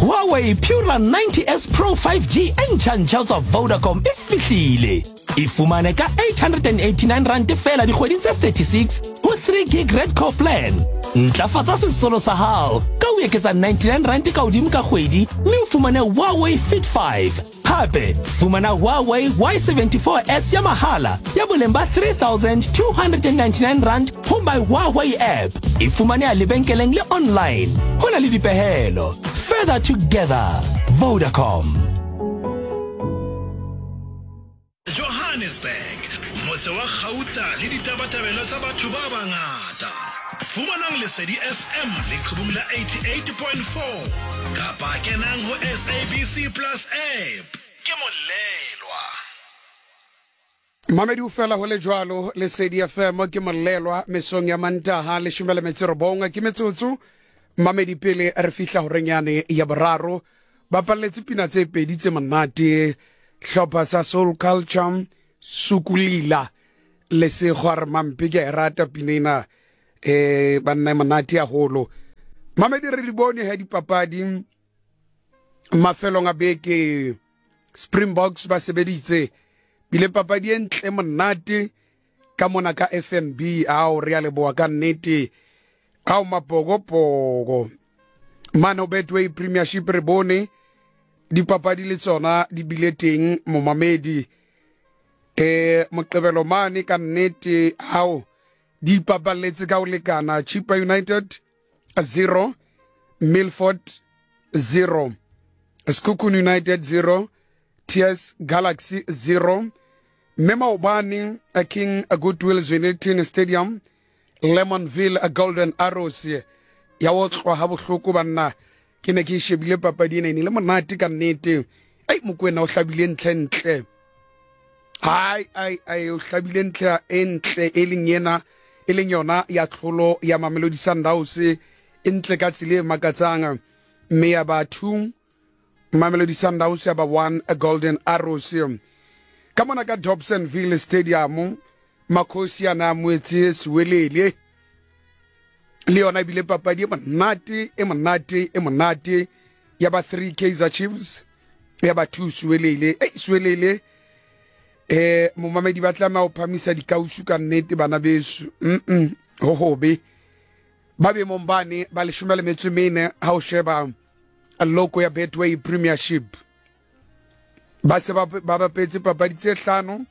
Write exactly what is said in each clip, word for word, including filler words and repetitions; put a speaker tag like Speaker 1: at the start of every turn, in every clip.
Speaker 1: Huawei Pura ninety S Pro five G e ntjha-ntjha ho tswa Vodacom e fihlile. E fumane ka eight hundred and eighty-nine rand feela dikgweding tse thirty-six ho three gig Red Core plan. Ntlafatsa sesolo sa hao ka ho eketsa ninety-nine rand ka hodimo ka kgwedi mme o fumane Huawei Fit five. Hape fumana Huawei Y seventy-four S ya mahala ya boleng ba three thousand two hundred and ninety-nine rand ho my Huawei app. E fumaneha lebenkeleng le online. Ho na le dipehelo. Further together. Vodacom.
Speaker 2: Johannesburg, motse wa Gauta le ditabatabelo tsa batho ba bangata. Fumanang Lesedi F M leqhubung la eighty-eight point four kapa kenang ho S A B C Plus app. Ke Molelwa.
Speaker 3: Mamedi o fela ho le jwalo Lesedi F M ke Molelwa mesong ya Mantaha leshome le metso e robong ke metsotso. Mamedi pele re fihla horeng yane ya boraro ba palletse pina tse pedi tse monate hlopha sa Soul Culture Sukulila le Sekgwa re mampe ke a e rata pina ena eh banna e monate haholo. Mamedi re di bone ha dipapadi mafelong a beke Springboks ba sebeditse bile papadi e ntle monate ka mona ka F N B ao re a leboha ka nnete ao mapokopoko mane Betway Premiership re bone dipapadi le tsona di bile teng momamedi eh Moqebelo mane ka nnete hao di ipapalletse ka ho lekana Chippa United zero Milford zero Sekhukhune United zero T S Galaxy zero mme maobane King Goodwill Zwelithini Stadium Lemonville Golden Arrows ya otlwa ha bohloko banna ke ne ke shebile papadi ena e ne le monate ka nnete ai Mokwena o hlabile ntle ntle ai ai ai o hlabile ntle e ntle e leng yena e leng yona ya tlholo ya Mamelodi Sundowns e ntle ka tsela e makatsang mme ya ba two Mamelodi Sundowns ya ba one Golden Arrows ka mona ka Dobsonville Stadium Makhosi a na amohetse Siwelele le yona ebile papadi e monate e monate e monate ya ba three Kaizer Chiefs ya ba two Siwelele ei Siwelele eh momamedi ba tlameha ho phamisa dikausu ka nnete bana beso mm ho hobe ba be mombane ba leshome le metso e mene ha o sheba loko ya Betway Premiership ba se ba ba bapetse papadi tse hlano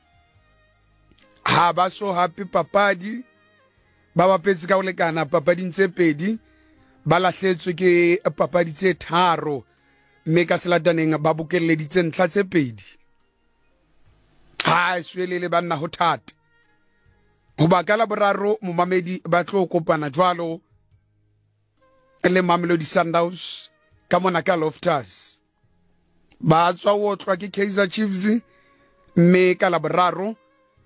Speaker 3: ha ba so hape papadi ba bapetse ka ho lekana papading tse pedi ba lahletswe ke papadi tse tharo mme ka selataneng ba bokelleditse ntlha tse pedi ha Siwelele banna ho thata hoba ka la boraro momamedi ba tlo kopana jwalo le Mamelodi Sundowns ka mona ka Loftus ba tswa otlwa ke Kaizer Chiefs mme ka la boraro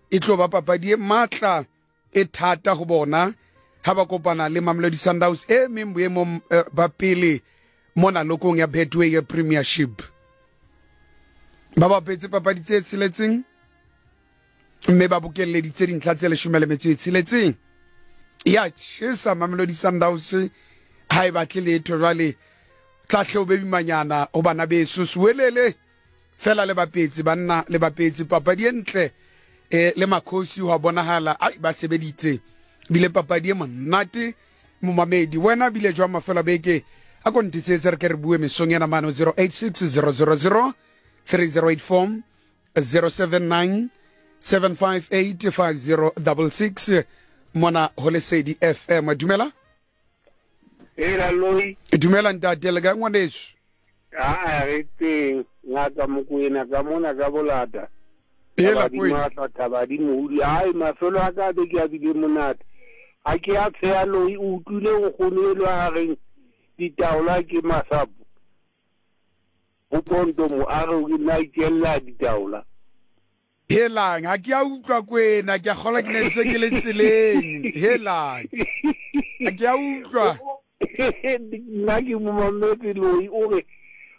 Speaker 3: e tlo ba papadi e matla e thata ho bona ha ba kopana le Mamelodi Sundowns e meng boemong ba pele mona lokong ya Betway Premiership ba bapetse papadi tse tsheletseng mme ba bokelleditse dintlha tse leshome le metso e tsheletseng ya tjhesa Mamelodi Sundowns ha e batle letho jwale tla hle o be bimanyana ho bana beso Siwelele fela le bapetse banna le bapetse papadi e ntle eh le Makhosi ho bonahala ai ba sebeditse bile papadi e monate momamedi wena bile jwa mafelo beke a ko ntitsetse re ke re bue mesong ena mano zero eight six zero zero zero three zero eight four zero seven nine seven five eight five zero six six mona ho Lesedi F M dumela
Speaker 4: Ela loi
Speaker 3: dumela ntate le ka ngwaneso
Speaker 4: a re teng ngaka Mokwena ka mona ka bolata
Speaker 3: Ela kwena
Speaker 4: thabadi mohudi ai mafelo a ka be ke a bile monate a ke a tsheya loi o utlwile o kgonelwa a reng ditaola ke masapo ho ponto mo a re o nna ikella ditaola
Speaker 3: Helang ha ke a utlwa kwena ke a kgola ke ne ntse ke le tseleng helang ha ke a utlwa
Speaker 4: nna ke momametse loi o re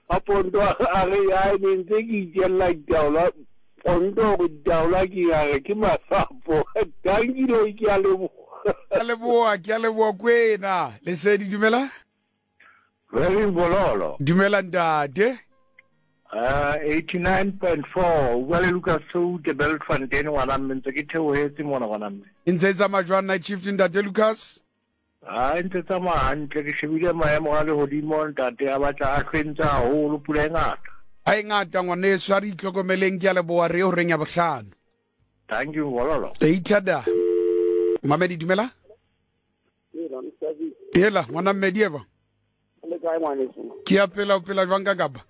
Speaker 4: a ponto a re ai ne ntse ke ikella ditaola ponto go ditaola ke a re ke masapo danki loi ke a leboha
Speaker 3: ke a leboha ke a leboha kwena Lesedi dumela
Speaker 5: Very bololo.
Speaker 3: Dumela ntate.
Speaker 5: Uh, eighty-nine point four. O bua le Lucas Soute Beltfontein ngwana mme, ntse ke theohetse mona ngwana mme.
Speaker 3: E ntse e tsamaya jwang night shift ntate Lucas?
Speaker 5: Ha e ntse tsamaya hantle, ke shebile maemo a lehodimo ntate, a batla a hlwentse haholo, pula e ngata.
Speaker 3: Ha e ngata ngwaneso, a re itlhokomeleng, ke a leboha, re horeng ya bohlano.
Speaker 5: Thank you bololo.
Speaker 3: Eithada. Mamedi dumela? Hela ngwana mmedi eva.
Speaker 6: Le kae ngwaneso?
Speaker 3: Ke a pela, o pela jwang ka Kapa?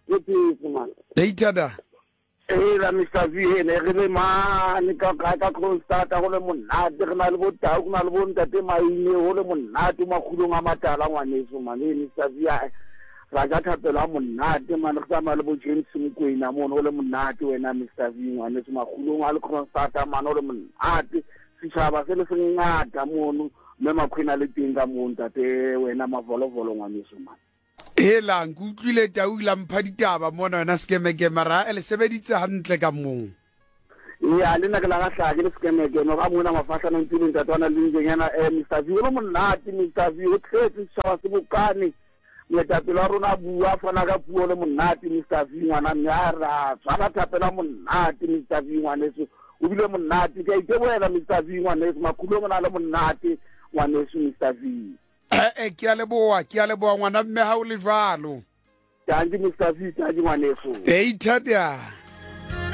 Speaker 6: Ke phetse man.
Speaker 3: Eithada.
Speaker 6: Hela Mister V, ne re le mane ka ka ka Kroonstad go le monate, re na le bo tau, go na le bo ntate Maine, go le monate makgulong a matala ngwaneso man. Ee Mister V, ra ja thapelo a monate man, re tsamaya le bo James Mokwena mono, go le monate wena Mister V ngwaneso, makgulong a le Kroonstad man, go le monate, setšhaba se le se ngata mono, mme Makwena le teng ka moo ntate wena mavolovolo ngwaneso man.
Speaker 3: Hela ke utlwile tau la mpha ditaba mona wena sekemekeme, ra e le sebeditse hantle ka moo.
Speaker 6: Ya le nna ke la gahla ke le sekemekeme ga mona mafahlana ntse le ntate wa le njenyana eh Mister V, o le monate Mister V, o tletse setšhaba se bokane, moetapele wa rona a bua, a fana ka puo le monate Mister V ngwana mme, a ra tshwara thapelo a monate Mister V ngwaneso, o bile monate, ke a itebohela Mister V ngwaneso, makhulong o na le monate ngwaneso Mister V.
Speaker 3: Eh ke a leboha, ke a leboha ngwana mme ha o le jwalo.
Speaker 6: Thank you Mister V, thank you ngwaneso.
Speaker 3: Eithada.